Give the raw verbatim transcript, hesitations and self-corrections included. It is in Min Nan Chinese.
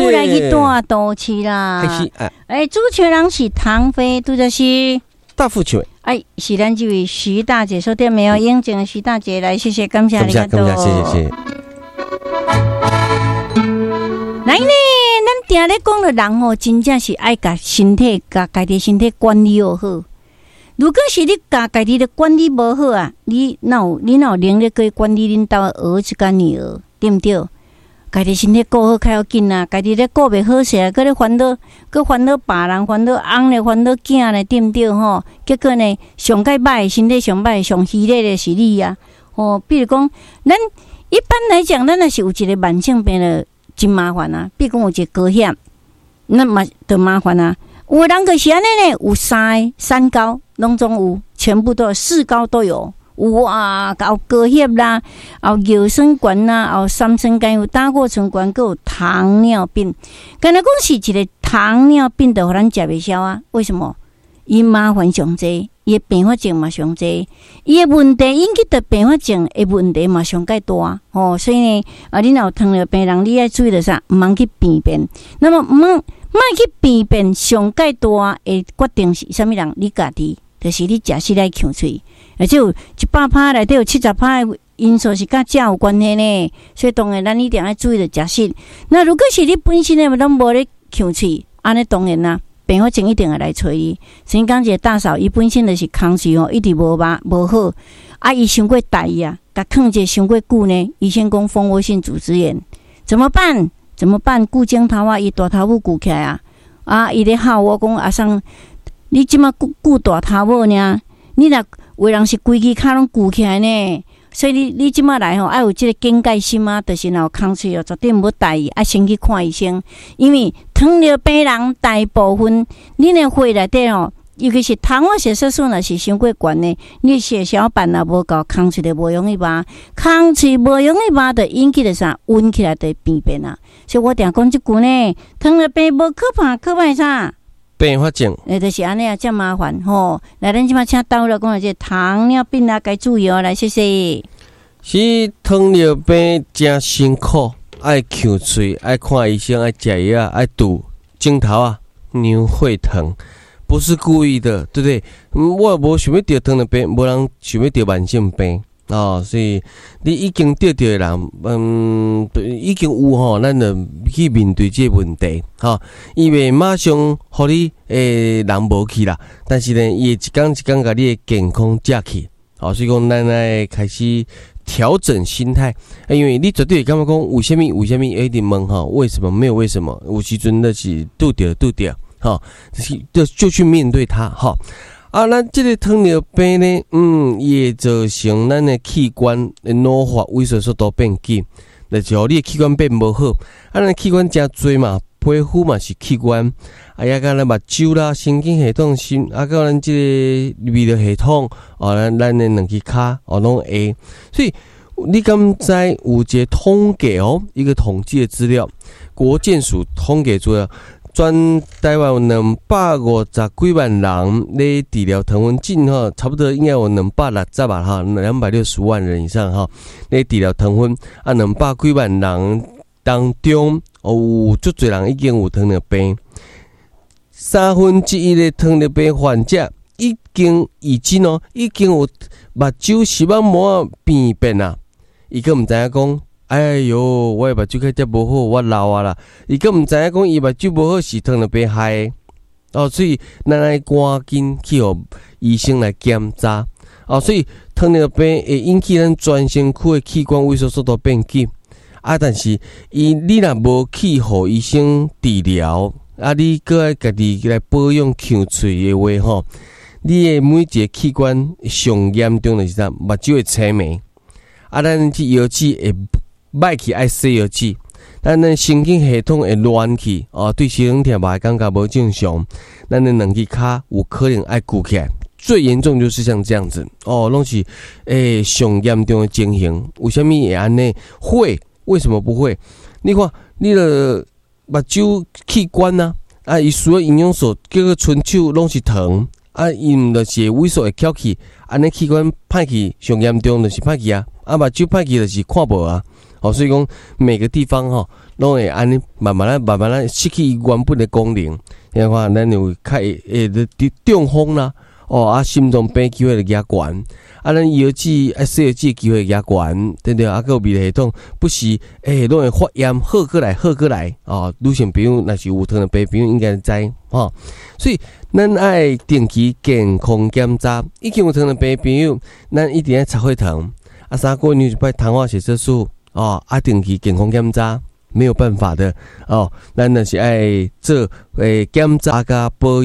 母來去大都市啦。哎，主持人是唐飛，拄則是大富唱。哎，是咱這位徐大姐說對沒有？英靜徐大姐來，謝謝，感謝，感謝，感謝，謝謝，謝謝。來呢，咱定咧講的人吼，真正是愛共身體、共家己身體管理好。如果是你共家己的管理無好啊，你哪有你哪有能力去管理恁兜的兒子佮女兒，對毋對？家己身體顧好較要緊啊，家己咧顧袂好勢，閣咧煩惱，閣煩惱別人，煩惱翁咧，煩惱囝咧，對毋對吼？結果呢，上蓋歹，身體上歹、上虛弱的是你啊！吼，比如講，咱一般來講，咱若是有一個慢性病咧，真麻煩啊。比如講有一個高血壓，那嘛就麻煩啊。有的人就是按呢呢，有三個三高，攏總有，全部都有，四高都有。有啊，有高血壓啦，有尿酸懸啦，有三酸甘油膽固醇懸，閣有糖尿病。敢若講是一個糖尿病，就予咱食袂消啊？為什麼？伊麻煩上濟，伊的併發症嘛上濟，伊的問題引起的併發症的問題嘛上蓋大吼。所以呢，啊，你若有糖尿病人，你愛注意著啥？毋通去病變。那麼毋莫去病變，上蓋大的決定是啥物人？你家己，就是你食食愛劵喙，而且有一百趴內底有七十趴的因素是佮食有關係呢。所以當然咱一定愛注意著食食。那如果是你本身的攏無咧劵喙，按呢當然啦，併發症一定會來揣你。先講一個大嫂，伊本身就是空喙吼，一直無肉無好，啊，伊傷過大意啊，共囥者傷過久呢。醫生講蜂窩性組織炎，怎麼辦？怎麼辦？舊指頭仔，伊大頭母舊起來啊！啊，伊咧吼我講阿桑，你這馬舊舊大頭母爾，你若有人是規支跤攏舊起來呢？所以你你這馬來吼，愛有這個警戒心啊，就是若有空喙哦，絕對毋好大意，愛先去看醫生。因為糖尿病人大部分，恁的血內底吼，尤其是糖化血色素若是傷過懸的，你血小板若無夠，空喙就無容易峇，空喙無容易峇，就引起著啥？溫起來就會病變啊。所以我定講這句呢，糖尿病無可怕，可怕啥？併發症。欸，就是按呢啊，遮麻煩吼。來，咱這馬請導來講下這糖尿病啊，該注意哦。來，謝謝。是糖尿病誠辛苦，愛劵喙，愛看醫生，愛食藥，愛拄鏡頭啊，牛血糖，不是故意的，對不對？我無想欲得糖尿病，無人想欲得慢性病哦。所以你已經得著的人，嗯，已經有吼，咱就去面對這個問題，吼。伊袂馬上予你欸人無去啦，但是呢，伊會一工一工共你的健康食去，哦，所以講咱愛開始調整心態，因為你絕對會感覺講為啥物為啥物一直問吼，為什麼沒有為什麼？有時陣就是拄著拄著，吼，就就去面對它，吼。啊，咱這個糖尿病呢，嗯，伊會造成咱的器官的老化萎縮速度變緊，就是予你的器官變無好。啊，咱器官誠濟嘛，皮膚嘛是器官，啊，抑佮咱目睭啦、神經系統、心，啊，佮咱這個泌尿系統，哦，咱咱的兩支跤，哦，攏會。所以你敢知有一個統計哦，一個統計的資料，國健署統計資料。全台灣有兩百五十幾萬人咧治療糖分症吼，差不多應該有兩百六十萬哈，兩百六十萬人以上哈咧治療糖分啊，兩百幾萬人當中，哦，有足濟人已經有糖尿病，三分之一的糖尿病患者已經已經哦，已經有目睭視網膜病變啊，伊閣毋知影講。哎喲，我的目睭看遮無好，我老啊啦！伊閣毋知影講，伊目睭無好是糖尿病害的哦，所以咱愛趕緊去予醫生來檢查哦。所以糖尿病會引起咱全身軀的器官萎縮速度變緊啊。但是伊你若無去予醫生治療啊，你閣愛家己來保養劵喙的話吼，你的每一個器官上嚴重的是啥？目睭會青盲啊，咱這腰子會歹去愛洗藥劑，咱的神經系統會亂去哦，對身體嘛會感覺無正常。咱的兩支跤有可能愛舊起來，最嚴重就是像這樣子哦，攏是欸上嚴重的情形。為啥物會按呢？會？為什麼不會？你看你的目睭器官啊，啊，伊需要營養素，叫做伸手攏是糖，啊，伊毋就是會萎縮會翹起，按呢器官歹去上嚴重就是歹去啊，啊，目睭歹去就是看無啊。哦，所以講每個地方吼，攏會按呢慢慢仔慢慢仔失去伊原本的功能。你看，咱有較會會中風啦，哦啊，心臟病機會會加懸，啊，咱腰子啊，細腰子機會加懸，對不對？啊，閣有泌尿系統不時欸，攏會發炎，好過來，好過來，哦，女性朋友若是有糖尿病朋友應該知，吼。所以咱愛定期健康檢查，已經有糖尿病朋友，咱一定愛查血糖，啊，三個月一擺糖化血色素，哦，啊，定期健康檢查。沒有辦法的哦，咱若是愛做欸檢查佮保